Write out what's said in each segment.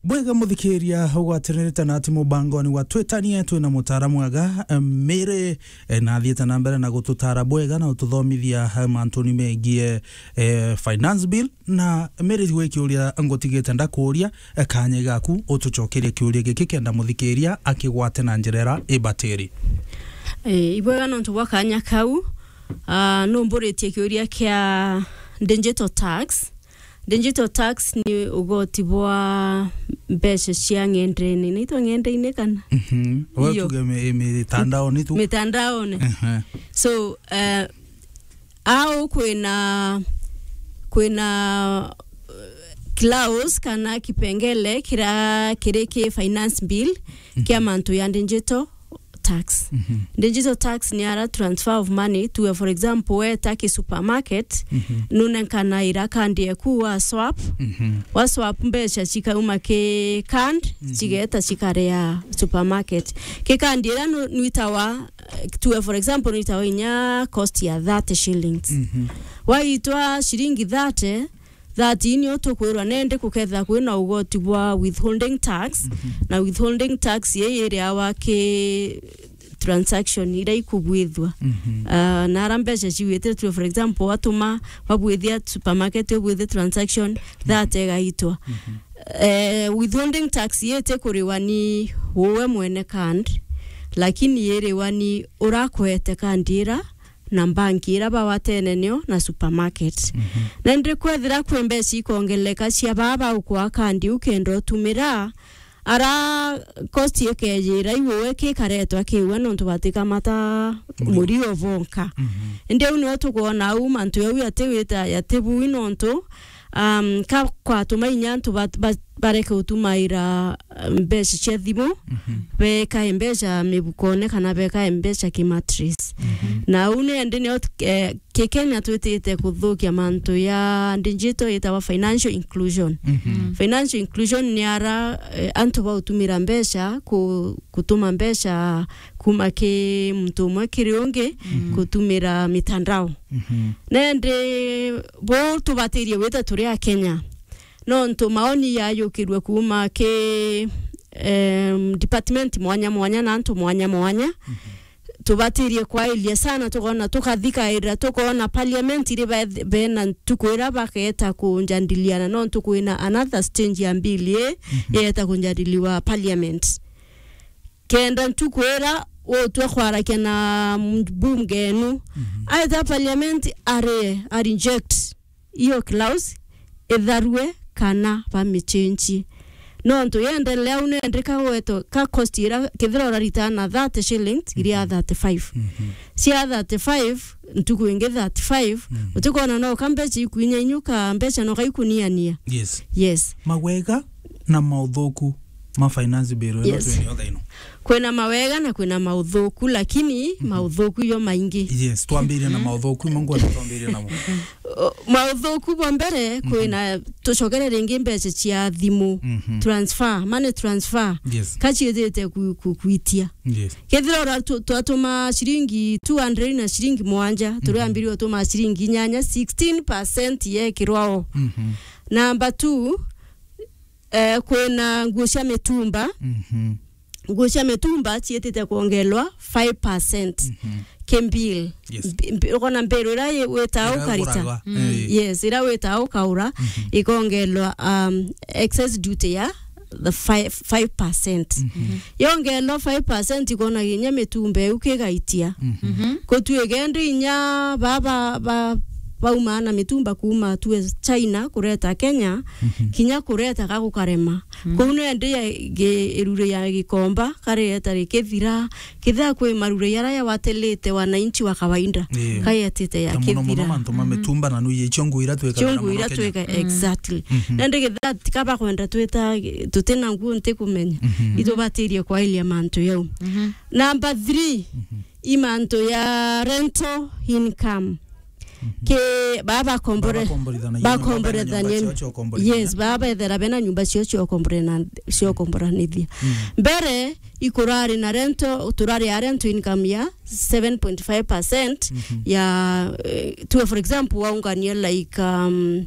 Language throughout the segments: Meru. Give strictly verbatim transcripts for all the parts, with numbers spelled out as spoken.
Bwega muthikiria, ugwatanirite na ati mubangoni wa Twitanie, twina mutaara mwega, eh, Mary, eh, na athiite na mbere na gututaara bwega na gututhomithia, eh, mantuni megie, eh, finance bill. Na Mary, gwi kiuria ngutigite ndakuuria, eh, kanya gaku utucokerie kiuria giki kenda muthikiria akigwate na njira iria ibatiri. Eh, ibwega nontu bwa kanya kau, ah, numburitie kiuria kia digital tax. Digital tax ni ugoti bwa mbeca cia ng'endene. Inaitwa ng'endene kana? Mhm. Wewe Iyo. tuge mi-, mitandaoni tu. Mitandaoni. Ehe. So, eh, au kwina, kwina, eh, clause kana kipengele kira kiri ki finance bill kia Mhm. mantu ya digital tax. Mhm. Digital tax ni ara transfer of money to, for example, weta ki supermarket, Mhm. nunenkanaira kandi eku wa swap, Mhm. wa swap mbeca cikauma ki card, Mhm. cigeta cikaria supermarket. Ki card ira nu-, nwitawa, eh, to, for example, nwitawa inya cost ya thirty shillings. Mhm. Waitwa ciringi thirty, that nio tukwirwa nende kukethira kwina ugoti bwa withholding tax, Mhm. na withholding tax ii iriawa ki transaction iria ikubwithua. Mhm. Ah, na ara mbeca ciwititwe, for example, watuma, wabwithia supermarket, ubwithi transaction, that igaitwa. Mhm. Eh, withholding tax ii itikuriwa ni uwe mwene card, lakini iriwa ni urakwete card ira na mbanki ira bawatene nio na supermarket. Mhm. Na indi kwethira kwi mbeca ikongeleka cia baa baukwa kandi ukenda utumira, ara cost ikejira iwe kikaretwa kiwe nontu batikamata Murio. Murio bonka. Mhm. Indi au nio tukwona au mantu jau yatiwita, yatibui nontu, um, ka kwatuma inya antu bat-, bat-, bareke utumaira, eh, mbeca cia thimu, Mhm. bekae mbeca mibukone kana bekae mbeca ki mattress. Mhm. Na au ni endi nio, eh, ki Kenya twitite kuthukia mantu ya digital yitawa financial inclusion. Mhm. Financial inclusion ni ara, eh, antu bautumira mbeca ku-, kutuma mbeca kuma ki muntu umwe kiri ungi Mhm. kutumira mitandao. Mhm. Nendi bo tubatirie gwita turi a Kenya. Nontu maoni yayukirue kuuma ki, em, department mwanya mwanya na antu mwanya mwanya. Mhm. Tubatirie kwailia sana, tukona tukathikaira, tukona parliament iri be-, bena ntuku ira baketa kunjadiliana, nontu kwina another stage ya bill ii Mhm. ireta kunjadiliwa parliament. Kenda ntuku ira utwe kwarakia na mbunge enu, Mhm. aeta parliament arie, a reject iyo clause itharue kana bamichenjie. Nontu yendelea au nendika gweto ka cost ira kethira urarita na thirty shillings, iria Mhm. thirty-five. Mhm. Cia thirty-five, ntuku ingi thirty-five, Mhm. utikona no ka mbeca ikwinya inyuka, mbeca no kaikuniania. Yes. Yes. Mawega na mauthuku ma finance bill ino Yes. twinio thaino. Kwina mawega na kwina mauthuku, lakini Mhm. mauthuku yo maingi. Yes, twambirie na Mhm. mauthuku, imwe ngwenda twambirie namo. O, mauthuku bwa mbere, Mhm. kwina tucokere ringi mbeca cia thimu, Mhm. transfer, money transfer. Yes. Kaciithite ku-, ku-, kwitia. Yes. Kethira ura tu-, twatuma ciringi two hundred na ciringi mwanja, Mhm. turiambirie utuma ciringi inyanya, sixteen percent yekirwa o. Mhm. Number two, eh, kwina nguo cia mitumba. Mhm. Nguo cia mitumba ciitite kwongelwa five percent Mhm. ki bill. Yes. Mbi-, mbi-, ukona mbiru ira i-, wita Ira ukarita. Iguragwa, Mm. eh. Yes, ira wita ukaura, Mhm. ikongelwa, um, excess duty ya the five, five percent. Mhm. Yongelwa five percent, ikona kinya mitumba iu kigaitia. Mhm. Mhm. Kutuike ndi inya baba ba, bauma na mitumba kuma tue China kureta Kenya, Mhm. kinya kureta ka gukarema. Mm. Kuu nende ya gi-, irure ya gikomba, kareta rikithira, kethira kwi marure yara yawatilite wananchi wa kawaida, Yeah. kayetite ya Na muno muno kithira. mantu ma Mhm. mitumba na nuye icio nguo ira twikagara Cio nguo muno ira Kenya. twika-, Mm. exactly. Mhm. Nende kethira tika bakwenda twita, tutina nguo ntikumenya. Mhm. Itubatirie kwailia mantu yau. Mhm. Number three, Mhm. i mantu ya rental income. Mhm. Ki, baa bakombore-, Baa bakomborithanagia nyumba, bena nyumba bakomborithania. cio cio komborithania. Yes, baa bethera bena nyumba cio cio kombore na, cio komboranithia. Mm. Mbere, ikurari na rento, turari a rento income ya seven point five percent Mhm. ya, eh, tuwe, for example, waungania like, um,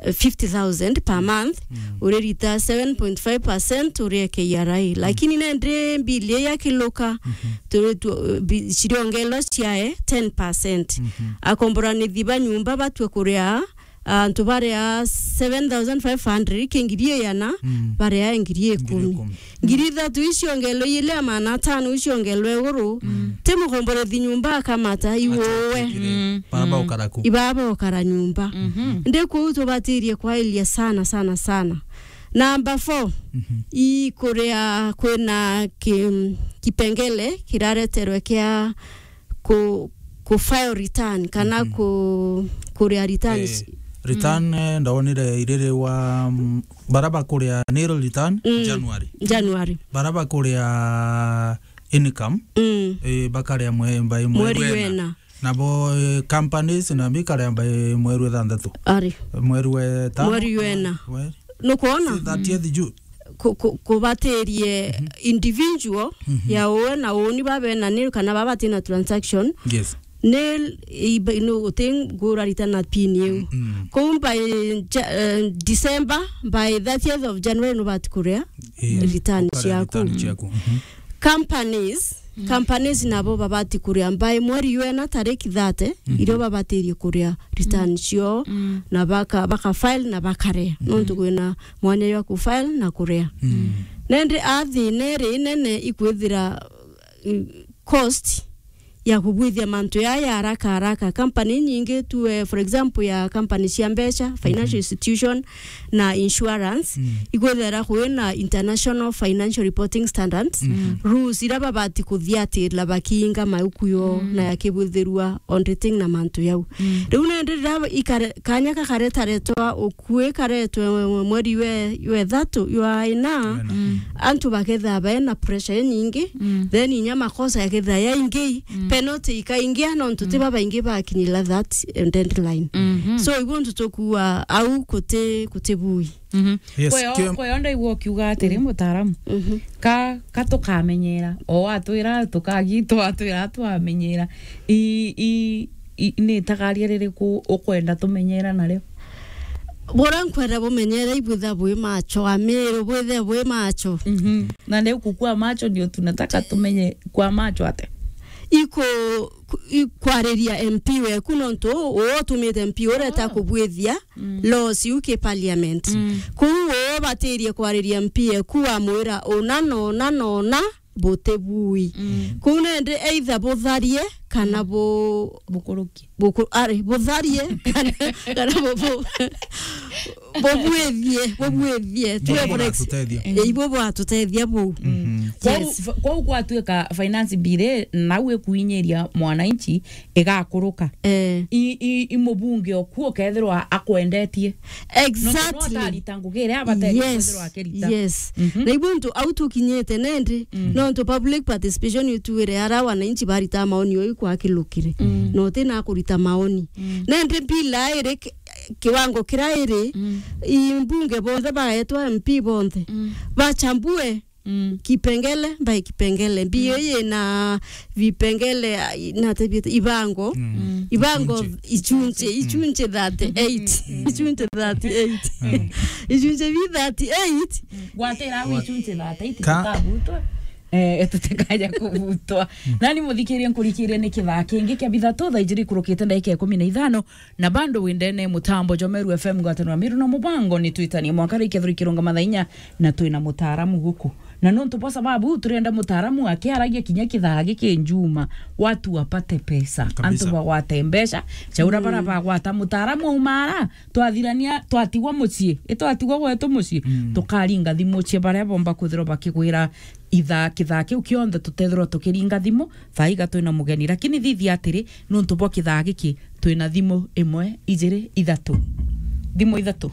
eh, fifty thousand per month, mm, uririta seven point five percent urie K R A. Mm. Lakini nende bill ii yakiluka, mhm, turi tu, bi-, ciriongerwa ciae ten percent. Mhm. Akomboranithi ba nyumba batue kuria, antu baria seven thousand five hundred ki ngiri igana, mm, baria ngiri ikumi. Ngiri ikumi. Ngiri ithatu iciongelwe, ile ya maana atano iciongelwe iguru. Mm. Ti mukomborethi nyumba akamata iwowe. Atatwikire. Mm. Bara, mm, baukara ku. Ibaa baukara nyumba. Mhm. Ndi kuu tubatirie kwairia sana, sana, sana. Namba four, mhm, ikuria kwina ki-, kipengele kirareterwe kia ku, ku file return kana, mhm, ku, kuria returns. Eh, return, mm, eh, ndonire iriri wa, mm, bara bakuria nil return, mm, January. January. Bara bakuria income, mm, eh, bakaria mwe-, by mweri, mweri wena. Wena. Nabo, eh, companies na bikaria by mweri wa ithanthatu. Ari. Mweri wa itano. Mweri wena. Mweri. Nukwona? Si thirtieth June. Ku-, ku-, kubatirie, mhm, individual, mhm, ya uwe na uuni babe na nil kana baba batina transaction. Yes. Nil iba-, no, uti ngura return na pin iu. Mm, mm. Kou by Ja-, eh, December, by thirtieth of January nubati kuria, eh, return, ukaria ciaku, return ciaku. Mhm. Companies, mm, companies nabo babati kuria by mweri wena tariki thirty, mhm, irio babatirie kuria return, mm, cio, mm, na baka, baka file na bakarea. Mhm. Nontu kwina mwanya jwa ku file na kuria. Mm. Nende a thina iri inene ikwithira, uh, cost ya kubwithia mantu yaya haraka haraka. Company nyingi tu, eh, for example, ya company cia mbeca, financial, mhm, institution, na insurance, mm, ikwithira kwina international financial reporting standards, mm, rules iria babati kuthiatira bakiinga mauku yo, mm, na yakibwithirua auditing na mantu yau. Mm. Riu nende riria ikare-, kanya kakaretaretwa ukui karetwe mweri we, we thatu, ywa ina, wena, mm, antu bakethaa baena pressure inyingi, mm, then inya makosa yakethaa yaingi, mm, penalty ikaingia, nontu ti, mm, babaingi bakinyira that, eh, deadline. Mhm. So, ibu ntu tukua au kuti, kuti bui. Mhm. Yes, kweyo, kio- kweyo ndaigua ukiuga atiri, mm, mutaaramu. Mhm. Ka, ka tukamenyera, o watwira tukagi-, twatwira twamenyera. I, i, i, ni itagaria ririku ukwenda tumenyera nario? Bura nkwenda bumenyere ibwitha bwi macho, Amiru, bwithe bwi macho. Mhm. Na leo kukua macho ndio tunataka tumenye kwa macho ate. Iko ku-, i-, kwariria M P weku, nontu uu utumite M P ureta, oh, kubwithia, mm, laws iu ki parliament. Mm. Kuu uu ubatirie kwariria M P eku, wamwira una na una na una buti bui. Mm. Kuu nende either butharie kana, mm, bu-, bukurukie. Buku-, ari, butharie kana, kana bu-, bu-, bubwithie, bubwithie. Tuwe, ibo bwatutethia. Eh, ibo bwatutethia buu. Mhm. Kwou, yes, f-, kwou gwatuika finance bill nau ikuinyiria mwananchi igakuruka. Eh. I, i, i mubunge oku ukethirwa akwendetie. Exactly. Nontu no atarita ngugi iria abaterie, yes, kwithirwa akirita. Yes. Mhm. Na ibu ntu au tukinyite nendi, mm, nontu public participation ituire ara wananchi barita maoni oi kwakilukire. Mm. No utina kurita maoni. Mm. Nendi bila iri ki-, kiwango kira iri, mm, imbunge bonthe baetwa M P bonthe, mm, bachambue, mm, kipengele by kipengele. Mbio, mm, ii ina vipengele, ah, i-, nate bieta, ibango. Mm. Mm. Ibango, ichunche, ichunche, mm, ichunche thirty-eight. Mm. Ichunche thirty-eight. Mm. Ichunche bi thirty-eight. Mm. Gwatira au ichunche thirty-eight ka- tutabutwa. Eh, tutikaja kubutwa. Mm. Nani muthikirie nkurikirie ni kithaa kingi kia bithatu thaa ijiri ikurukite ndagika ikumi na ithano. Na bado windene mutambo jwa Meru F M ngwataniro ya Meru na mubango ni twitanie mwanka rikia thuri kirunga mathaa inya na twina mutaaramu guku. Na nontu bwa sababu turenda mutaaramu akiaragia kinya kithaa giki njuma, watu wapate pesa. Kabisa. Antu bagwate mbeca, chaura, mm, bara bagwata mutaaramu aumara, twathirania, twatigwa mucii, itwatigwa gwetu mucii, mm, tukaringa thimu cia baria bomba kwithirwa bakigwira ithaa, kithaa kiu kionthe tutethirwa tukiringa thimu, thaa iga twina mugeni. Lakini thithia atiri, nontu bwa kithaa giki, twina thimu imwe, ijiri, ithatu. Thimu ithatu.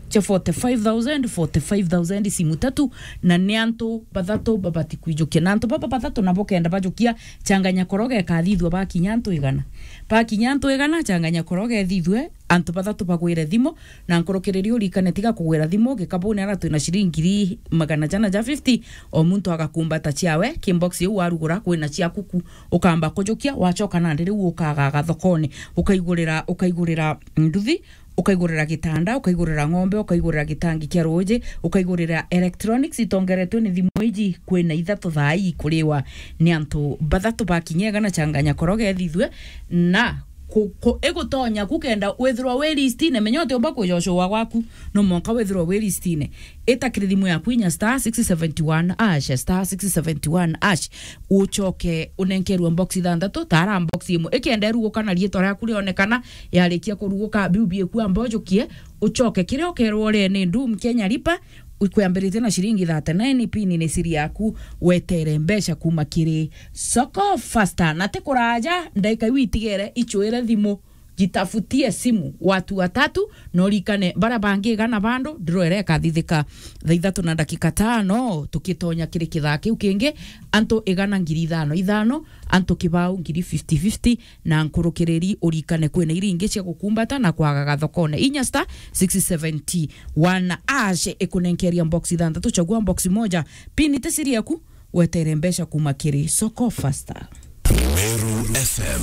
Cia forty-five thousand, forty-five thousand, simu tatu, na ni antu bathatu babati kwijukia. Na antu baba bathatu nabo kenda bajukia, changanya koroga ikathithua bakinya antu igana. Bakinya antu igana, changanya koroga ithithue, antu bathatu bagwire thimu, na nkurukiriria urikane tiga kugwira thimu, gikabune ara twina ciringi ngiri magana jana ja fifty, o muntu agakumbata ciawe, ki box iu warugura kwina ciaku ku, ukamba kujukia, wachoka nandi riu ukagaga thokone, ukaigurira, ukaigurira nduthi, ukaigurira gitanda, ukaigurira ng'ombe, ukaigurira gitangi kia ruuji, ukaigurira electronics itongeretwe ni thimu iji, kwina ithatu thaa ii ikuriwa ni antu bathatu bakinya igana changanya koroge ethithue na ku, ku, igutonya ku kenda withirwa wi listine, menya utiumba kuja ucua gwaku, no mwanka withirwa wi listine. Ita kiri thimu yaku inya star six seventy one hash, star six seventy one hash, ucoke unenkerwe box ithanthatu, tara box imwe. Ikenda iruguka na riitwa riaku rionekana, yarikia kuruguka, biu bieku amba ujukie, ucoke kiria ukerwo urie ni Doom Kenya Lipa, ikwambiritie na ciringi thirty-nine, pin ni siri yaku, wetere mbeca kuma kiri Soko Faster. Na ti kuraja, ndaika iu itigere, icuire thimu, jitafutie simu watu watatu, na urikane baria bangi igana bandu, ndirwere ikathithika thaa ithatu na ndagika tano, tukitonya kiri kithaa kiu kingi, antu igana ngiri ithano ithano, antu kibao ngiri fifty fifty, na nkurukiriri urikane kwina iria ingi cia gukumbata na kwagaga thokone. Inya star six seventy one hash ikunenkeria box ithanthatu, chagua box moja, pin ti siri yaku, wetere mbeca kuma kiri Soko Faster. Meru F M,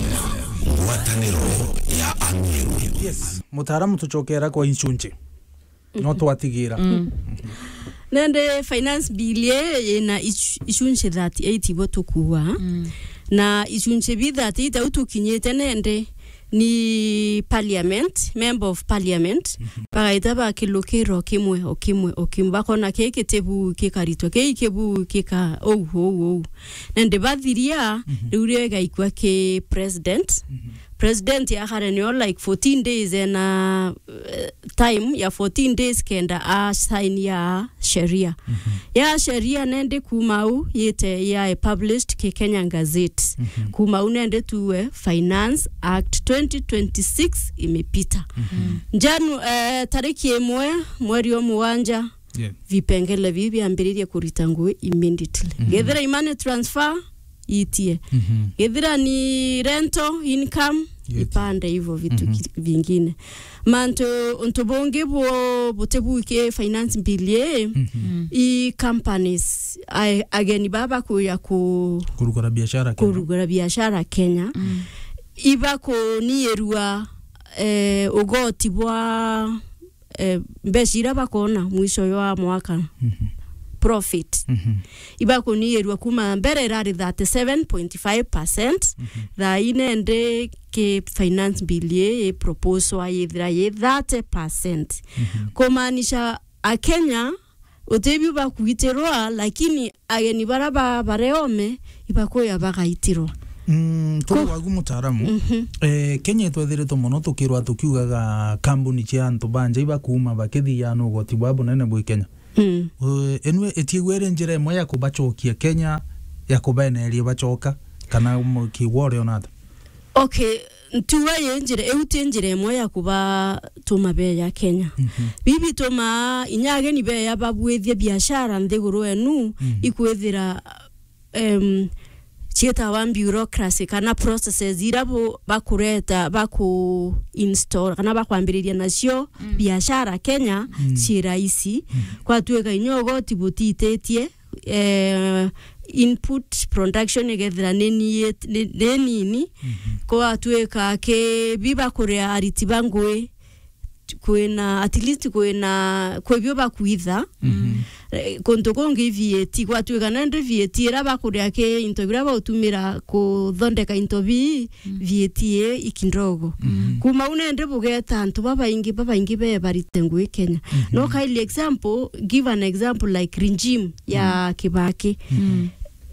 ngwataniro ya Ameru. Yes, mutaaramu, tucokera kwa inchunchi. No twatigira. Nende finance bill ii yina ichu-, ichunchi thirty-eight ibo tukua. Na ichunchi bi thirty-eight au tukinyite nende ni parliament, member of parliament, bagaita bakilukirwa kimwe o kimwe o kimwe, bakona kii kitibu kikaritwa, kii kibu kika ou, ou, ou. Nende bathiria, riu rio igaikua ki president. President akare nio, like, fourteen days ena, eh, time ya fourteen days kenda a sign ya sheria. Ya sheria nende kuma au yite ya published ki Kenya Gazette. Kuma au nende tuwe Finance Act twenty twenty-six imepita. Janu-, eh, tariki imwe mweri wa mugwanja, vipengele biu biambiririe kurita ngui immediately. Githira i money transfer, itie. Githira ni rental income, ipande hivyo vitu ki-, vingine. Mantu, untu bungi bu-, butibuki finance bill ii, i companies, a-, ageni baba kuya ku-, kurugura biashara Kenya. Kurugura biashara Kenya. Ibakuniirua, eh, ugoti bwa eh, mbeca iria bakona mwisho wa mwaka, profit, ibakuniirua kuma mbere irari thirty-seven point five percent, thaa ii nende ki finance bill ii, ii proposal yithira yi thirty percent. Kumaanisha Akenya utibiu bakuitirwa, lakini ageni bara ba, bareome ibakuya bagaitirwa. Mm, turi wagu mutaaramu, eh, Kenya itwethiritwe mono tukirwa tukiugaga kambuni cia antu ba nja ibakuuma bakithia na ugoti bwa bunene bwi Kenya. Eh, enwe itiigwe iri njira imwe ya kubacokia Kenya, ya kubeneria bacoka, kana mu-, kiugo uriona ata? Okay, ntiuga yi njira, iu ti njira imwe ya kubatuma beya Kenya. Bibi tuma inya ageni beya babwithie biashara nthiguru enu, ikwithira, em, ciitawa bureaucracy kana processes ira bu-, bakureta, baku install kana bakwambiriria nacio biashara Kenya, ci rahisi. Kwatuika inya ugoti butititie, eh, input production igethira ni ni-, ni, ni nini, kwatuika ki biba kuria ariti ba ngui, kwina, at least kwina, kwi bio bakwitha. Eh, kuntu kungi V A T, gwatuika nende V A T ira bakuria ki into biria bautumira kuthondeka into bii, V A T ii ikindogo. Kuma u nende bugeta antu babaingi, babaingi be barite ngui Kenya. No kaili example, give an example like regime ya Kibaki.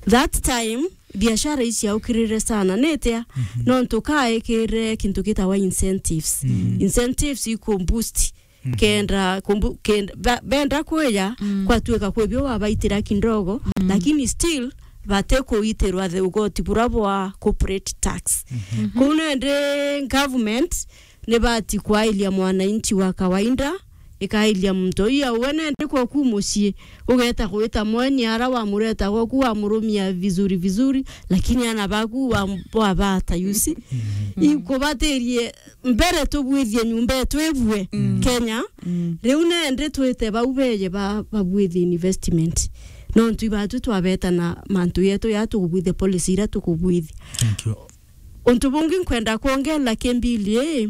That time, biashara iciaukirire sana. Nitia? Nontu kaekire kintu gitawa incentives. Incentives iku boost. Kenda, kumbu-, kenda, ba-, benda kwija, kwatuika kwi bio wabaitira kindogo, lakini still, bati kuitirwa the ugoti bura bwa corporate tax. Kuu nende government nibati kwailia mwananchi wa kawaida, ikailia muntu uyu auwe nende kwoku mucii, ugeta gwita mweni ara wamureta gwoku wamurumia vizuri vizuri, lakini ana baku wa-, wabata, you see? Ikubatirie mbere tubwithie nyumba yetu ibue Kenya, riu nende twite bau beje ba-, babwithie investment. Nontu ibatu twabeta na mantu yetu ya tukubwithia policy ira tukubwithia. Thank you. Untu bungi nkwenda kwongela ki mbili ii,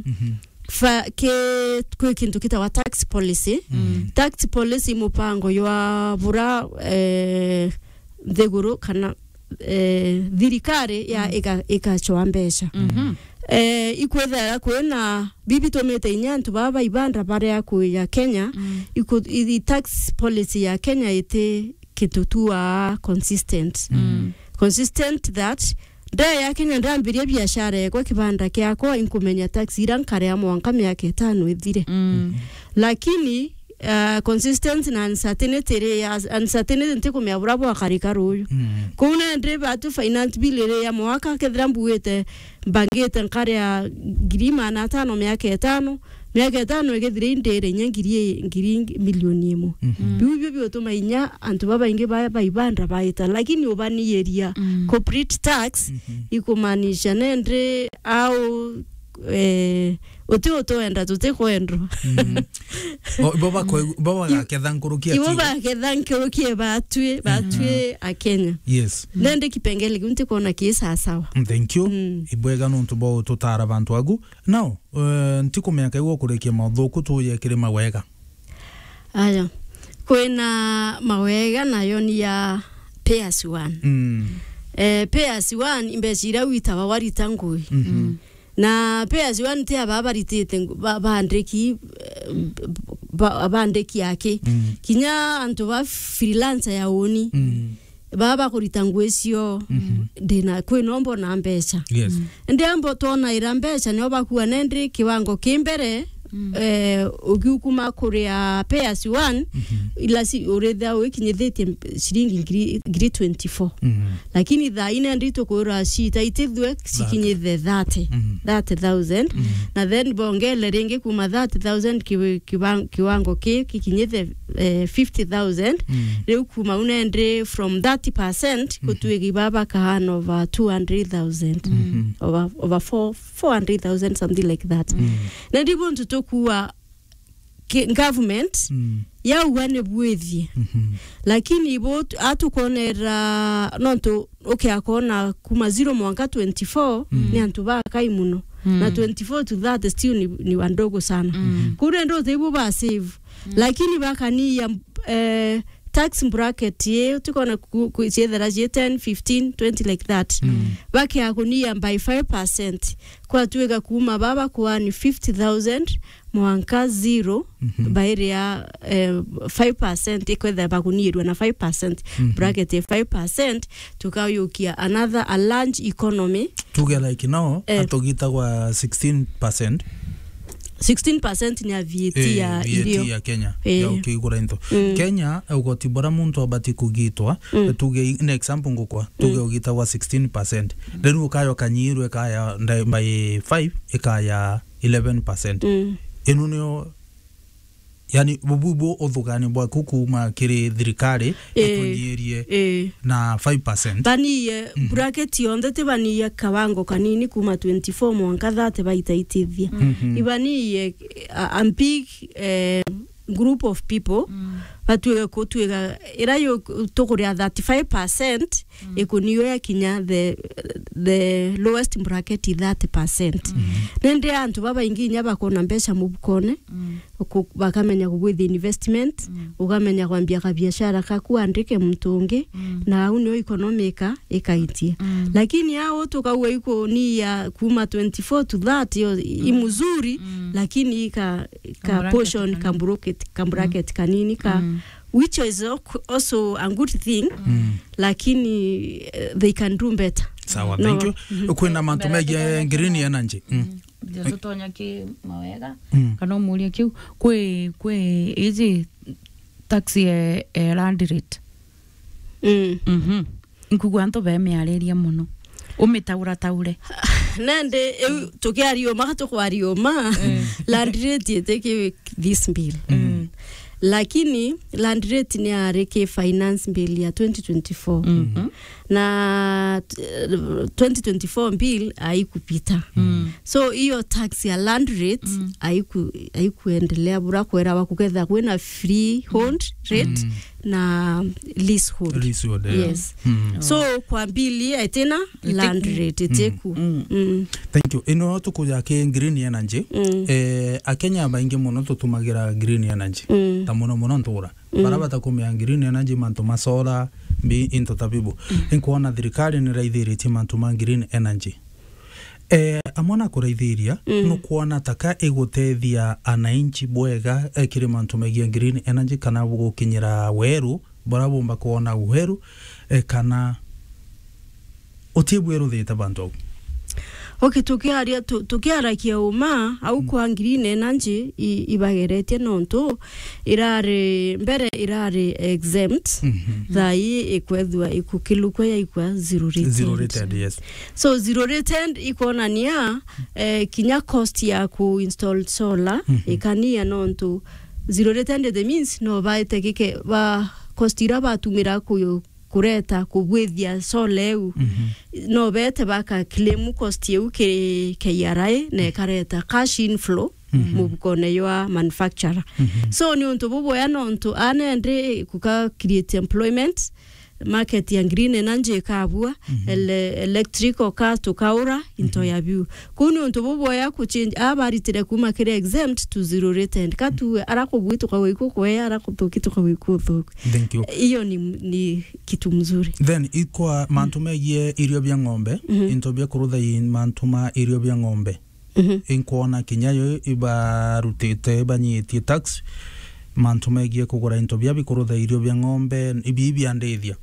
fa-, ki-, kwi kintu kitawa tax policy. Mm. Tax policy i mupango jwa bura, eh, nthiguru kana, eh, thirikari ya Mm. ika-, ikachwa mbeca. Mhm. Eh, ikwithira kwina bibi tumite inya antu baba ibanda baria kuja Kenya, Mm. iku-, i, i tax policy ya Kenya iti kintu tu aa consistent. Mm. Consistent that nda ya Kenya ndambiria biashara yakwa, kibanda kiakwa, inkumenya tax ira nkaria mwanka miaka itano ithire. Mm. Lakini, uh, consistency na uncertainty ri ya, uncertainty ntikumenya bura bwakarika ruyu. Mm. Kuu nandi batu finance bill iri ya mwaka, kethira mbugite mbangite nkaria ngiri magana atano miaka itano, miaka itano igithira indire inya ngiri, ngiri milioni imwe. Mhm. Biu bio biutuma inya antu babaingi ba, ba ibanda baita, lakini ubaniiria Mm. corporate tax Mhm. ikumaanisha nende au, eh, uti utwenda, tutikwendwa. Mhm. O, ibo bakwe-, ibo bagaketha nkuruki ibo ati- baketha nkuruki batwi, batwi Mhm. a Kenya. Yes. Nende kipengele kiu ntikwona ki sasawa. Mm, thank you. Mm. Ibwega nontu bwa ututara bantu agu. Now, eh, ntikumenya kaigua kurikia mauthuku tuje kiri mawega. Aya. Kwina mawega nayo ni ya pay as you earn. Mm. Eh, pay as you earn, imbeca iria witawa warita ngui. Mhm. Mm. Na pay as you earn ti aba baritite ngu-, ba-, bandiki, eh, ba-, bandiki aki. Mm. Kinya antu ba freelancer ya uni. Mm. Baba bakurita ngui cio, Mhm. ndina, kwi no mbona mbeca. Yes. Mm. Ndi ambo twonaira mbeca, nio bakua nendi kiwango ki mbere, Mm. eh, ugiukuma kuria pay as you earn, Mhm. ila si, urithia wikinyithitie ciringi ngiri, ngiri twenty-four. Mhm. Lakini thaa ine ndi tukwirwa cita itithue cikinyithe thirty, Mhm. thirty thousand. Mhm. Na then bongele ringi kuma thirty thousand kiwi-, kiwa-, kiwango ki kikinyithe, eh, fifty thousand. Mm. Riu kuma unendi from thirty percent Mhm. gutwiki baba kahan over two hundred thousand. Mhm. Over, over four, four hundred thousand, something like that. Mm. Na ndi buntu tukua ki-, government Mm. yauga ni bwithie. Mhm. Lakini ibo tu-, atukonera nontu ukiakona kuma zero mwanka twenty-four Mm. ni antu bakai muno. Mm. Na twenty-four to thirty still ni, ni wandogo sana. Mm. Kuu ndio ibo ba save. Mm. Lakini bakaniia, eh, tax bracket ye, tukona ku-, ku-, ciethera cie ten, fifteen, twenty like that. Mm. Bakia kuniia by five percent. Kwatwika kuma baba kuani fifty thousand mwanka zero, Mhm. bairia, eh, five percent, ikwetha bakuniirua na five percent, Mhm. bracket ya five percent, tukayukia another a large economy. Tuge like now, Eh. atugitagwa sixteen percent. Sixteen percent ni ya V A T Eh, ya V A T irio. Ya Kenya, Eh. ya ukigura into. Mm. Kenya, ugoti bura muntu abati kugitwa, Mm. tuge i-, an example ngukwa, tuge Mm. ugitagwa sixteen percent. Then ukayo kanyirwe kaya nda-, by five, ikaya eleven percent. Mm. Inu nio, yani, bubu bu uthugani bwaku kuma kiri thirikari Eh. ikunyirie Eh. na five percent. Baniie Mhm. bracket yonthe, ti baniie kawango kanini kuma twenty-four mwanka thirty baitaitithia. Mhm. Ibaniie a, a big, eh, group of people, Mm. batwike kutwika ira yo tukuria thirty-five percent, Mm. ikuniwe yakinya the, the lowest bracket i thirty percent. Mm. Nende antu babaingi inya bakona mbeca mubukone, Mm. ku-, bakamenya kugwithia investment, Mm. ukamenya kwambia kabiashara kaku, andike muntu ungi, Mm. na au nio economy ika-, ikaitie. Mm. Lakini au tukauga ikuniia kuma twenty-four to thirty, yo, i Mm. mzuri, Mm. lakini ika, ka Kambracket portion, kanini. Kambracket, kambracket Mm. kanini ka, Mm. which is al-, also a good thing, Mm. lakini, eh, they can do better. Sawa, No. Thank you. Mhm. Kwina mantu Mbere megie tutonya green ki energy. Mm. Mm. Ndio tutonya ki mawega, Mm. kana umuria kiu, kwi, kwi iji tax e, e land rate. Mm. Mhm. Nkugua antu bemiariria muno. Umitaura taure. Nandi, iu, tukiaria uma, tukwaria uma. Mm. Land rate itiki this bill. Mm. Lakini land rate ni ari ki finance bill ya twenty twenty-four. Mhm. Na, eh, twenty twenty-four bill haikupita. Mm. So, hiyo tax ya land rate Mm. haiku-, haikuendelea bura kwera wa kuketha kwina freehold rate. Mm. na leasehold. Leasehold, yeah. Yes. Mm. So, kwa mbili, itina land rate, itiku. Mm. Mm. Thank you. Ino tukuja ki green energy. Mm. Eh, Akenya baingi muno tutumagira green energy. Mm. Ta muno muno ntura. Mm. Bara batakumia green energy, mantu ma solar, mbi, into ta bibu. Mm. Inkwona thirikari niraithiritie mantu ma green energy. Eh, amwe na kuraithiria, mm, nukwona taka igutethia ananchi bwega, eh, kiri mantu megie green energy kana gukinyira weru, bara bumba kwona weru, eh, kana uti bweruthite bantu au? Okay, tukiaria, tu-, tukiarakia uma, au kwa green energy i-, ibageretie nontu irari, mbere irari exempt, mhm, thaa ii ikwethua ikukilukwa yaikwa zero rated. Zero rated, yes. So, zero rated ikonania, eh, kinya cost ya ku install solar, mhm, ikania nontu zero rated it means no baite gike, ba cost ira batumira ku-, kureta kubwithia solar iu. Mhm. No bete baka claim cost iu ki K R A na ikareta cash inflow, mhm, mubukone jwa manufacturer. Mhm. So, ni untu bubwea nontu anende kuka create employment, market ya green energy ikabua, mhm, ele-, electrical car tukaura, into, mhm, ya biu. Kuu ni untu bubwea ku change, aa baritire kuma kiri exempt to zero rated. Ka tu ara kubui tukagwa iku kwea, ara kuthuki tukagwa iku thuki. Thank you. Iyo ni, ni kitu mzuri. Then, ikwa mantu megie irio bia ng'ombe, mhm, into bia kurutha i mantu ma irio bia ng'ombe. Mhm. Inkwona kinya yo ibarutite, ibanyitie tax, mantu megie kugura into bia bikurutha irio bia ng'ombe, ibi biandithia.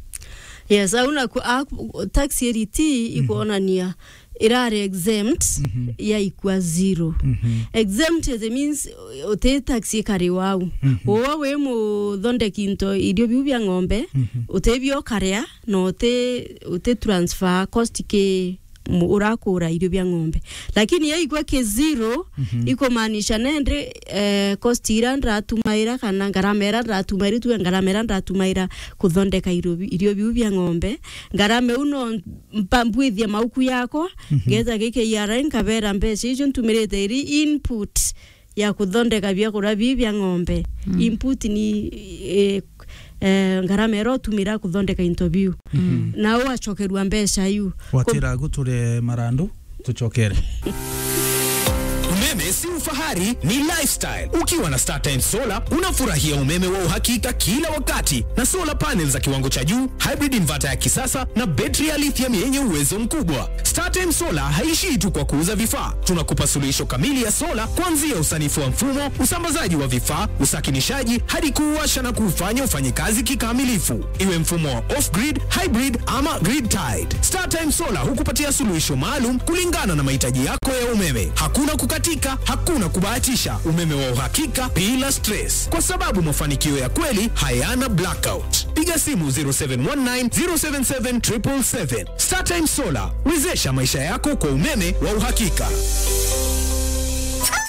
Yes, au na ku-, a-, tax iriti, mhm, ikwonania irari exempt, mhm, yaikwa zero. Mhm. Exempt, it means, uh, uti tax ikari wau. Mhm. Wowa wi muthondeki into irio biu bia ng'ombe, mhm, uti bio ukaria, na uti, uti transfer cost ki mu-, urakura irio bia ng'ombe. Lakini yaikwa ki zero, mhm, ikumaanisha nende, eh, cost ira ndratumaira kana ngarama ira ndratumaira, tuge ngarama ira ndratumaira kuthondeka irio bi-, irio biu bia ng'ombe, ngarama iu no mpa-, mbwithie mauku yakwa, mhm, ngeta giki K R A nkabera mbeca icio ntumirite iri input ya kuthondeka biakuria bii bia ng'ombe. Mm. Input ni, eh, eh, ngarama iria utumira kuthondeka into biu. Mhm. Na ugacokerua mbeca iu. Watira guture marandu, tucokere. Umeme si ufahari, ni lifestyle. Ukiwa na StarTimes Solar, unafurahia umeme wa uhakika kila wakati, na solar panels za kiwango cha juu, hybrid inverter ya kisasa, na betri ya lithium yenye uwezo mkubwa. StarTimes Solar haishii tu kwa kuuza vifaa. Tunakupa suluhisho kamili ya sola, kuanzia usanifu wa mfumo, usambazaji wa vifaa, usakinishaji, hadi kuuwasha na kuufanya ufanye kazi kikamilifu. Iwe mfumo wa off-grid, hybrid ama grid-tied, StarTimes Solar hukupatia suluhisho maalum kulingana na mahitaji yako ya umeme. Hakuna kukatika, hakuna kubahatisha, umeme wa uhakika bila stress, kwa sababu mafanikio ya kweli hayana blackout. Piga simu zero seven one nine, zero seven seven, triple seven. StarTimes Solar, wezesha maisha yako kwa umeme wa uhakika.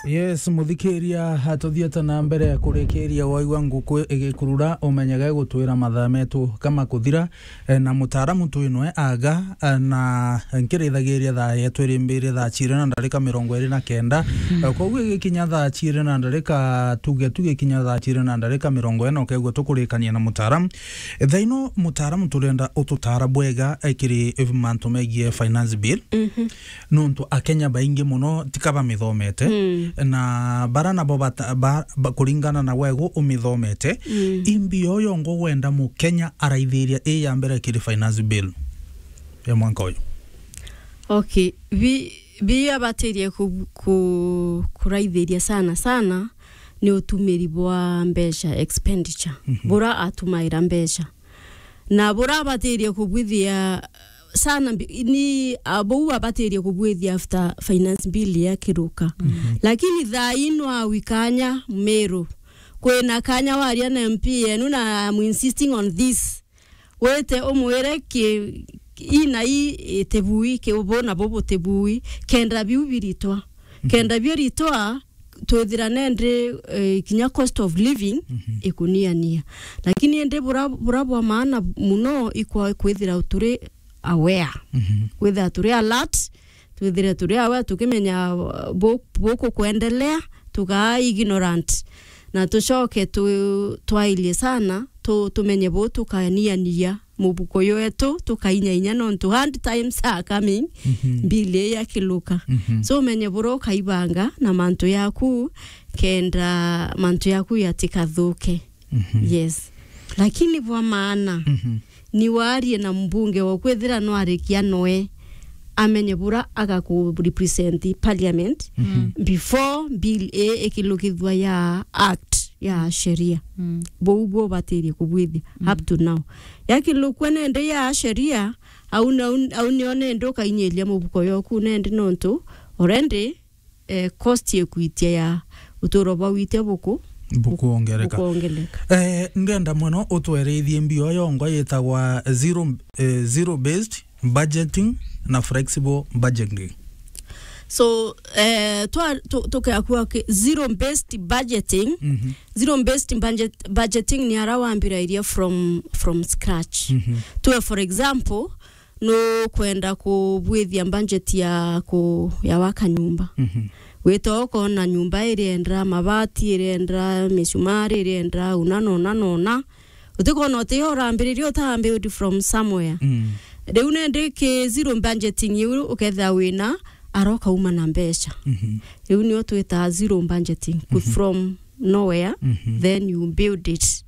Yes, muthikiria, hatuthiete na mbere kurikiria waigua nguku igikurura, umenyage gutwira mathaa metu kama kuthira, eh, na mutaaramu twinwe aga, eh, na nkirithagiria thaa yetu irimbiri thaa ciiri na ndarika mirongo iri na kenda. Mm. Eh, koguo igikinya thaa ciiri na ndarika, tuge tugikinya thaa ciiri na ndarika mirongo ina, ukegua tukurikania na mutaaramu. Thaa ino, mutaaramu, turenda ututaara bwega, eh, kiri, eh, mantu megie finance bill. Mhm. Nontu Akenya baingi muno tika bamithomete. Mm. Na bara nabo bata-, ba-, ba-, kuringana na wegu umithomete, mm, imbi yo yongo wenda Mukenya araithiria i ya mbere kiri finance bill ya mwanka uyu? Okay, bi-, bi abatirie ku-, ku-, kuraithiria sana sana ni utumiri bwa mbeca, expenditure. Mhm. Bura atumaira mbeca. Na bura abatirie kubwithia sana mbi-, ni, a, bou abatirie kubwithia after finance bill yakiruka. Mhm. Lakini thaa ino au ikanya Meru. Kwina kanya waria na M P yenu na I'm insisting on this. Wite umwire ki, ii na ii itibui, ki ubu na bubu tibui, kenda biu biritwa. Mhm. Kenda biu ritwa, twithira nendi, eh, kinya cost of living, mhm, ikuniania. Lakini indi bura, bura bwa maana muno ikwa kwithira turi aware. Mhm. Kwithira turi alert, twithire turi aware, tukimenya, uh, bu-, buku kwendelea, tukaa ignorant. Na tucoke tu-, twairie sana, tu-, tumenye bu tukaniania mubuko ywetu, tukainyainyagia nontu hard times are coming, Mhm. bill ii yakiluka. Mhm. So, umenye buria ukaibanga na mantu yaku, kenda mantu yaku yatikathuke. Mhm. Yes. Lakini bwa maana, Mhm. ni warie na mbunge wa kwithira nwarikia noe amenye buria agaku represent parliament Mhm. before bill ii ikilukithua ya act ya sheria. Mm. Buu buo ubatirie kubwithia Mm. up to now. Yakilukua nende ya sheria, au na-, au nio nende ukainyiria mubuko yoku nende nontu already, eh, cost ikuitia ya uturo bwa witia buku-, Bukuongereka. bukuongereka. Eh, ndenda mono utwerithie mbio yongwa yitagwa zero, eh, zero based budgeting na flexible budgeting. So, eh, twa-, tu-, tukea kuga ki-, zero based budgeting, Mhm. zero based budget, budgeting ni ara wambirairia from, from scratch. Mhm. Tuwe, for example, nukwenda kubwithia budget ya ku-, ya waka nyumba. Mhm. Wita ukona nyumba irienda mabati, irienda misumari, irienda una na una na una. Utikona uti yo urambiriria, utambuild from somewhere. Mm. Riu nindi ki zero budgeting iu ukethira wina ara ukauma na mbeca. Mhm. Riu nio twitaga zero budgeting, ku-, Mhm. from nowhere, Mhm. then you build it.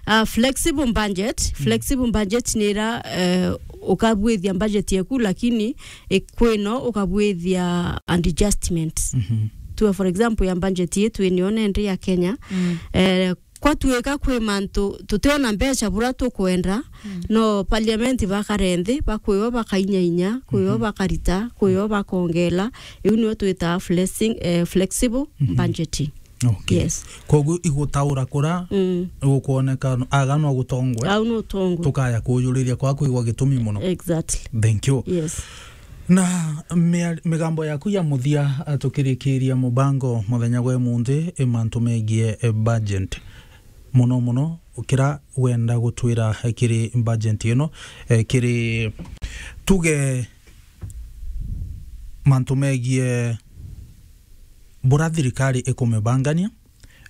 Uh, flexible budget, Mm. flexible budget ni ira, eh, ukabwithia budget yaku, lakini ikwino ukabwithia an adjustment. Mhm. Tuwe, for example, ya budget yetu ino nende ya Kenya, Mm. eh, kwatuika kwi mantu tutiona mbeca buria tukwenda, Mm. no parliament bakare nthi, bakwiwa bakainyainya, kwiwa Mhm. bakarita, kwiwa bakongela. Iu nio twitaga flexing-, eh, flexible Mhm. budgeting. Okay. Yes. Koguo igutaura kura Mm. gukwoneka aga no gutongwe. Au no tongwe. Tukaya kujuriria kwa kwigwa gitumi muno. Exactly. Thank you. Yes. Na mia-, migambo yaku ya muthia, eh, tukirikiria mubango muthenya gwe munthi, i mantu megie, eh, budget. Muno muno, kira wenda gutwira, eh, kiri budget ino, eh, kiri tuge mantu megie bura thirikari ikumibangania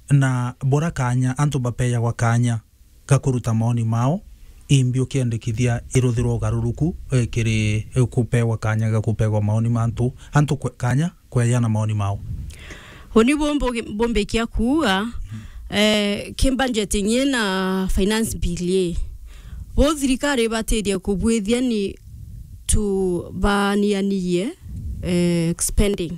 na bura kanya antu bapeyagwa kanya ga kuruta maoni mao, imbi ukiendekithia iruthirwa ugaruruku, eh, kiri, eh, kupewa kanya ga kupewa maoni ma antu, antu kwe-, kanya kweana maoni mao. Uni bumbu-, bumbikia kuuga, eh, ki budgeting ii na finance bill ii, bu thirikari ibatirie kubwithia ni tubanianirie, eh, spending.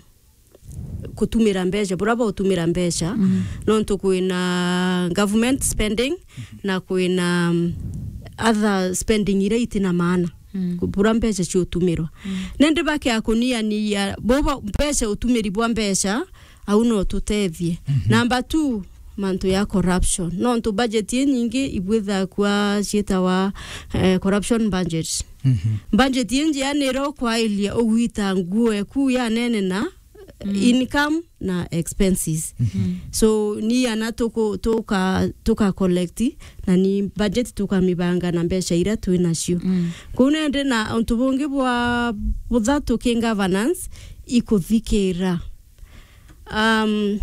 Kutumira mbeca, buria bautumira mbeca, Mm. nontu kwina government spending na kwina, um, other spending iria itina maana. Mm. Ku-, buria mbeca ciutumirwa. Mm. Nindi bakea kuniania, bo ba-, mbeca, utumiri bwa mbeca, au no tutethie. Mhm. Number two, mantu ya corruption. Nontu budget inyingi ibwithaga kwa ciitawa, eh, corruption budget. Mhm. Budget injia ni iria ukwairia ugwita nguo eku ya nene na Mm. income na expenses. Mhm. So, ni ana tuku-, tuka, tuka collect, na ni budget tukamibanga na mbeca iria twi nacio. Mm. Kuu nende na untu bungi bwa buthatu ki governance, ikuthikira. Um,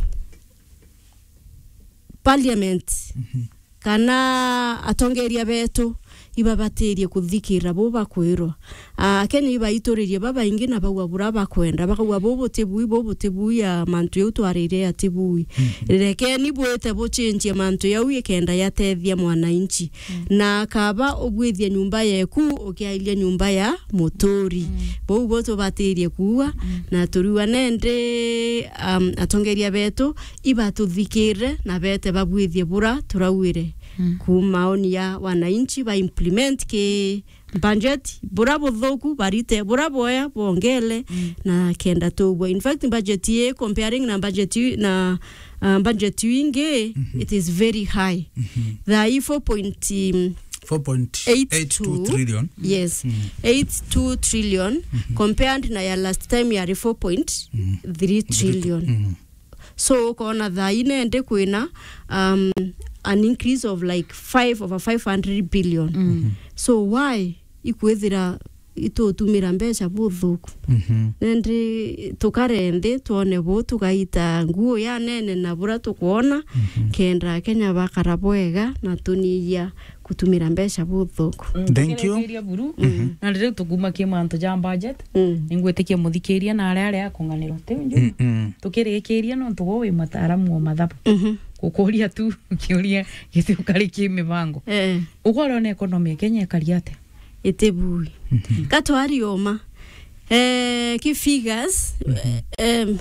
parliament, Mhm. kana atongeria betu ibabatirie kuthikira bu bakwirwa. Ah, Akenya ibaituririe babaingi na baua buria bakwenda, bakauga, "Bu butibui, bu butibui, ya mantu jau twarire atibui." Mhm. Rekeni bwite buchenjie mantu jau ikenda yatethia mwananchi. Mm. Na akaba ugwithia nyumba yeku, ukiairia nyumba ya muturi. Mm. Bau bo tubatirie kuuga, Mm. na turiuga nende, um, atongeria betu ibatuthikire na bete babwithie bura turauire. Mm. Ku maoni ya wananchi ba implement ki budget, bura buthuku barite, bura bwea bongele, Mm. na kenda tugwa. In fact, budget ye comparing na budget yu-, na, uh, budget wingi, Mhm. it is very high. Mhm. Thaa ii four point, um, four point eight two trillion. Yes. Mhm. Eight two trillion, Mhm. compared na ya last time yari four point three trillion. Mhm. So, ukona thaa ii nende kwina, um, an increase of, like, five, over five hundred billion. Mm. Mhm. So, why ikwithira itutumira mbeca buthuku. Mhm. Nandi tukare nthi, twone bu tugaita nguo ya nene na bura tukwona, mhm, kenda Akenya bakara bwega na tunyiyia gutumira mbeca buthuku. Mm, thank you. Tukirikiria buru. Mhm. Na riu tukuma ki mantu ja budget, mm, ningwitikia muthikiria na aria aria akung'anirwa. Tiu nju. Mm, mm. Tukirikiria nontu gwe wi mutaaramu wa mathabu. Mhm. Gukuria tu kiuria gitiukari ki mibango. Eh. Ugwe uriona economy ya Kenya ikari atia? Itibui. Mhm. Ka twari uma. Eh, ki figures, mhm, em,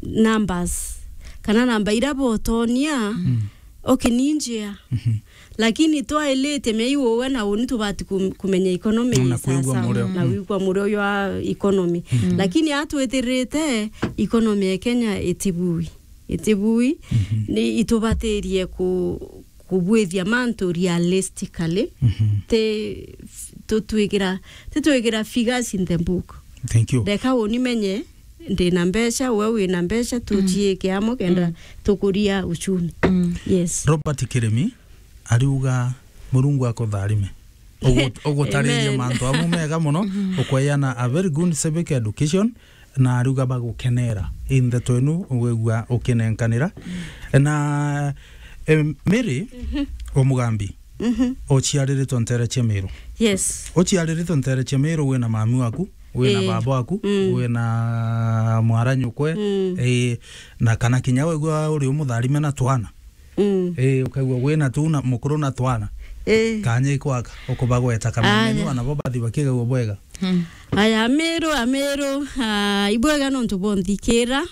numbers. Kana namba iria botonia, mm, okay, ni njea. Mhm. Lakini twailite mei uwe na uni tubati kum-, kumenya economy. Na kwigua sawa sawa, murio, na, mm, wigua murio jwa economy. Mm. Lakini atwitirite economy ya Kenya itibui. Itibui, mhm, ni itubatirie ku-, kubwithia mantu realistically. Mhm. Ti, tutwikira, titwikira figures in the book. Thank you. Ndeka uni menye ndina mbeca, we wina mbeca, mm, tuciike amwe kenda, mm, tukuria uchumi. Mm. Yes. Robert Kirimi ariuga, Murungu akutharime. Ugu-, ugutaririe, amen, mantu amwe mega muno, mhm, ukweyana a very good civic education, na ariuga bagukenera i ndeto inu wigua ukinenkanira. Na, em, Mary, mhm, Omugambi, mhm, uciariritwe ntere cia Miru. Yes. Uciariritwe ntere cia Miru, wina mami waku, wina, ii, baba waku, mm, wina mwaranyukwe, mm, ii, na kana kinya wigua uri umutharime na twana. Mm. Ii, ukaigua wina tu na mukuru na twana. Ii. Kanya ikwaka, ukubagweta kamenya. Aya. Ni wana bo bathi bakigagua bwega. Mm. Aya, Amiru, Amiru, ah, ibwega nontu bonthikira.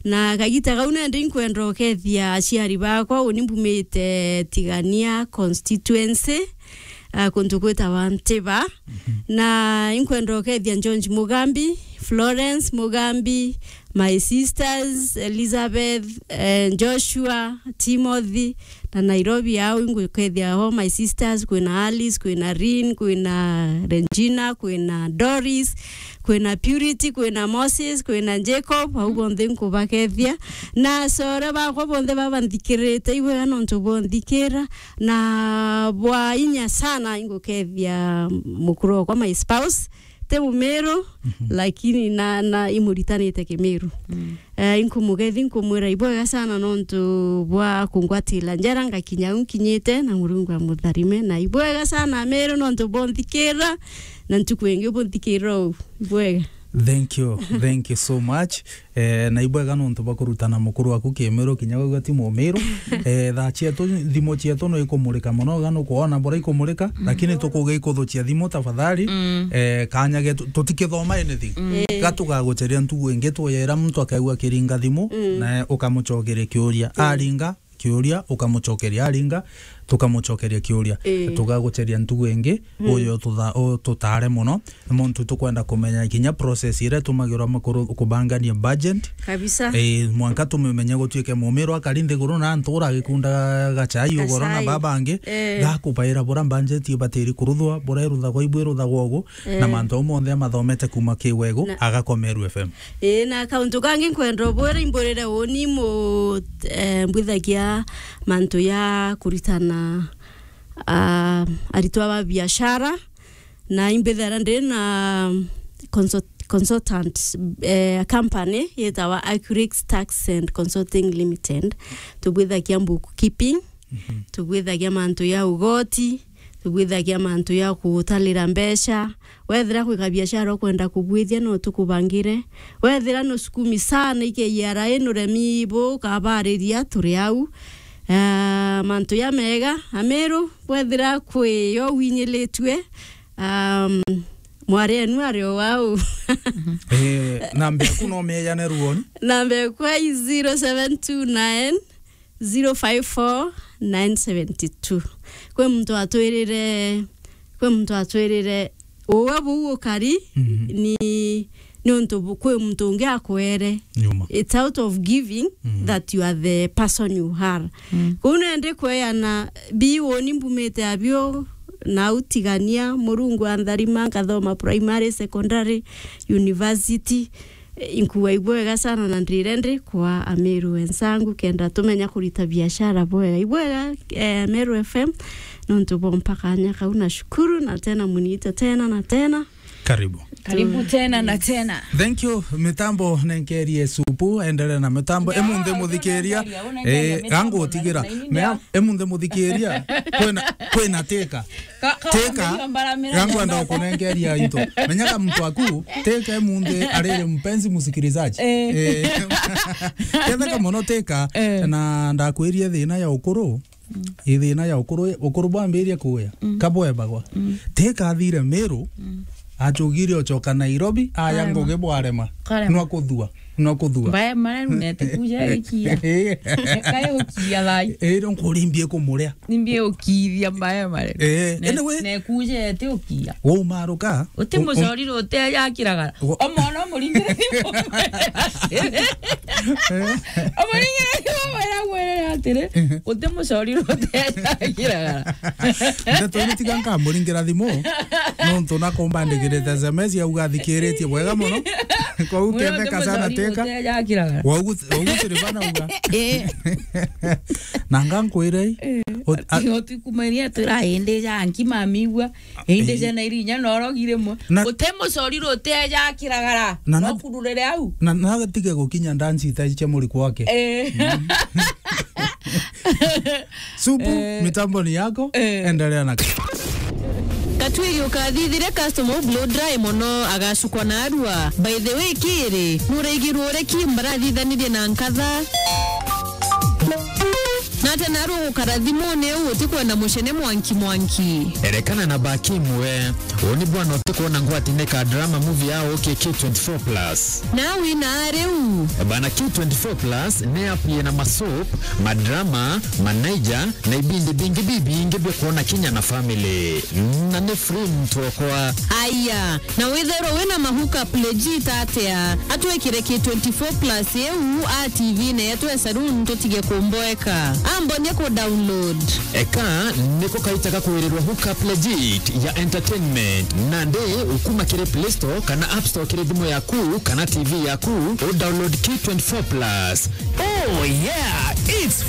Na kagita kau nende inkwenda ukethia aciari bakwa, uni mbumite Tigania constituency, ah, kuntu gwitawa Ntiba. Mhm. Na inkwenda ukethia George Mugambi, Florence Mugambi, my sisters, Elizabeth, eh, Joshua, Timothy, na Nairobi au ingukethia ho my sisters, kwina Alice, kwina Rin, kwina Regina, kwina Doris, kwina Purity, kwina Moses, kwina Jacob, au bonthe nkubakethia. Na sore bakwa bonthe babanthikirite, ibwega nontu bonthikira, na bwa inya sana ingukethia mukuru wakwa, my spouse, ti Mumiru, mhm, lakini na, na imuritanite Kimiru. Mm. Eh, inkumugethi, nkumwira ibwega sana nontu bwa kungwatira njara ngakinya u nkinyite, na Murungu amutharime, na ibwega sana Amiru nontu bonthikira, na ntuku ingi bunthikira u. Ibwega. Thank you. Thank you so much. Eh, na ibwega nontu bwa kurutana mukuru waku Kimiru kinya wigua ti Mumiru. Eh, thaa cietu, thimu cietu no ikumurika mono, ga nukwona bora ikumurika, mm, lakini tukuge ikuthucia thimu tafadhali. Mm. Eh, kanya getu, tutikithoma anything. Mm. Eh. Ga tugaguceria ntugu ingi, tweyera muntu akaigua akiringa thimu, mm, na ukamucokeria kiuria. Mm. Aringa, kiuria, ukamucokeria, aringa, tukamucokeria kiuria. Ii. Tugaguceria ntugu ingi, mm, uyu tutha-, ututare mono, nontu tukwenda kumenya kinya process iria itumagirwa makuru kubangania budget. Kabisa. Ii, mwanka tumimenye gutuike Mumiru akari nthiguru na ntura agikundaga gachai ugoro na, gachai, baba angi, ii, gakubaira bura budget ibatiri kuruthwa, bura iruthagwa ibu iruthagwa ugu, na, eh, mantu au monthe amathomete kuma Kiwegu, na agakoma Meru F M. Ii, na kauntu kangi nkwenda ubwira, imburire uni mu-, eh, mbwithagia mantu ya kuritana, ah, aritwa ba biashara, na imbithira ndi na consult-, consultant, eh, company yitawa Accurix Tax and Consulting Limited. Tubwithagia bookkeeping, mhm, tubwithagia mantu ya ugoti, tubwithagia mantu ya gutalira mbeca. Wethira kwi kabiashara ukwenda kubwithia, no tukubangire. Wethira nusukumi sana i K R A, nuremi bu kabariria, turi au. Ah, mantu ya mega, Amiru, wethira kwi yo winyilitue, um, mwari enu ari o wau. Eh, namba yaku no meyane ruoni? Namba yakwa i zero seven two nine, zero five four, nine seventy two. Kwi muntu atwirire, kwi muntu atwirire, uwe buu ukari, mhm, ni, ni untu bu-, kwi muntu ungi akwere. Nyuma. It's out of giving, mhm, that you are the person you are. Mm. Kuu nende kweana bi uni mbumite abio, na utigania, Murungu antharima, nkathoma primary, secondary, university. Inkuwa ibwega sana na ndire ndi kwa Ameru wenzangu, kenda tumenya kurita biashara bwega. Ibwega, eh, Meru F M, nontu bompa kanya kau, na shukuru, na tena muniite tena na tena. Karibu. Karibu tena na tena. Thank you. Mitambo nenkerie supu, endelea na mitambo. Emunthe muthikiria, eh, gangu utigira. Mea, emunthe muthikiria, kwena, kwena teka. Teka, gangu enda kunenkeria into. Menyaga mtu aku, teka emunthe arere mpenzi msikilizaji. Eh. Eh. Ketheka mono teka, eh, na ndakwirie thina ya ukuru. Mm. Ithina ya ukuru, ukuru bwambirie kuya, mm, kabwebagwa. Mm. Teka athire Meru, mm, achugire ochoka Nairobi, aya ngugi bwarema. Karema. Nwa kuthua, nwa kuthua. Mbae mare runete kuja ikia. Kae ukia thai. Ero nkurimbie kumuria. Nimbie ukithia mbae mare. Eh, ne, anyway. Ne kuja ete ukia. Wo umaruka. Uti mucorire utejakiragara. Omwana umuringire thimu. Umuringire thimu, mwira, mwira atiri, uti mucorire utejakiragara. Ndeto iri tiga nkamuringira thimu, nontu nakumbandikirite S M S yauga athikiritie bwega mono. Kwou ketheka sana teka. Waugu, waugu tiri bana uga. Eh. Na ngankwire i, ot-, a- Ati otikumania tira indi ja nki mamigua. Indi, eh, jana iri inya norogire mo. Na- Uti mucorire utejakiragara. Na- No na- kururire au. Na, na tige gukinya ndanci ita cia muri kwake. Eh. Mm. Supu, eh, mitambo ni yako, eh, endelea na Katwiri ukathithire customer u blow dry mono agacukwa na arua. By the way, kiri, nuraigirwe uri ki mbarathithanirie na nkatha? Nate naru gukara thimuni u utikwenda mucene mwanki mwanki. Erekana na Bakim we. Uni bwana utikwona ngwati ni ka drama movie ya K twenty-four plus. Na wina riu. Bana K twenty-four plus ni app yina masoap, madrama, manaija, na ibindi bingi bibingi bia kwona kinya na family. Na ni free mtu okwa. Aya, na withirwe wina ma hookup legit atia? Atwikire K twenty-four plus iu a T V ne yetwe saloon tutige kumboeka. Ambonie ku download. Eka niko kaita ga kwirirwa hookup legit ya entertainment. Nandi ukuma kiri Play Store kana App Store kiri thimu yaku kana T V yaku, u download K twenty-four plus. Oh yeah, it's